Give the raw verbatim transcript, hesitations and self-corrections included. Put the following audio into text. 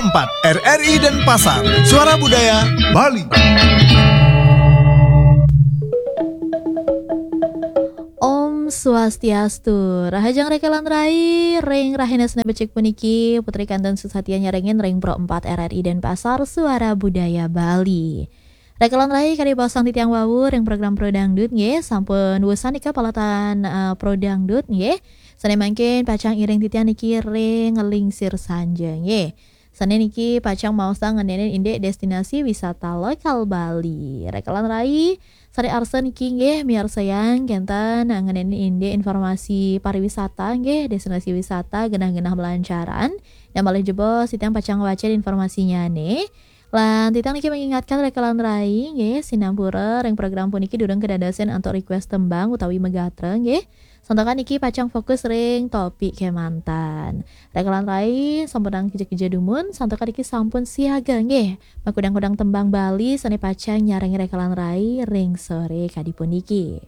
empat R R I Denpasar, Suara Budaya Bali. Om Swastiastu, rahajeng rekelan rai, ring rahina Senin becik puniki, Putri Kanten Susatia nyarengin ring Pro empat R R I Denpasar, Suara Budaya Bali. Rekelan rai, kadi baosang titiang wau ring program Pro Dangdut nggih, sampun wusan nika palatan, eh, Pro Dangdut nggih. Sane mangkin pacang iring titiang niki ring nglingsir sanja nggih. Sane niki pacang maosang ngenenin indik destinasi wisata lokal Bali. Rekelan rai, sane arsa niki nggih miarsayang kenten ngenenin indik informasi pariwisata nggih, destinasi wisata genah-genah malancaran. Nah, malih jebos titiang pacang ngwacen informasinyane. Lan titiang niki mengingatkan rekelan rai nggih, sinampura ring program puniki durung kadadosin antuk request tembang utawi megatra nggih. Santukan niki pacang fokus ring topik kemanten. Rekelan rai, sampunang kija-kija dumun, santukan niki sampun siaga nggih. Makudang-kudang tembang Bali sane pacang nyarengin rekelan rai ring sore kadi puniki.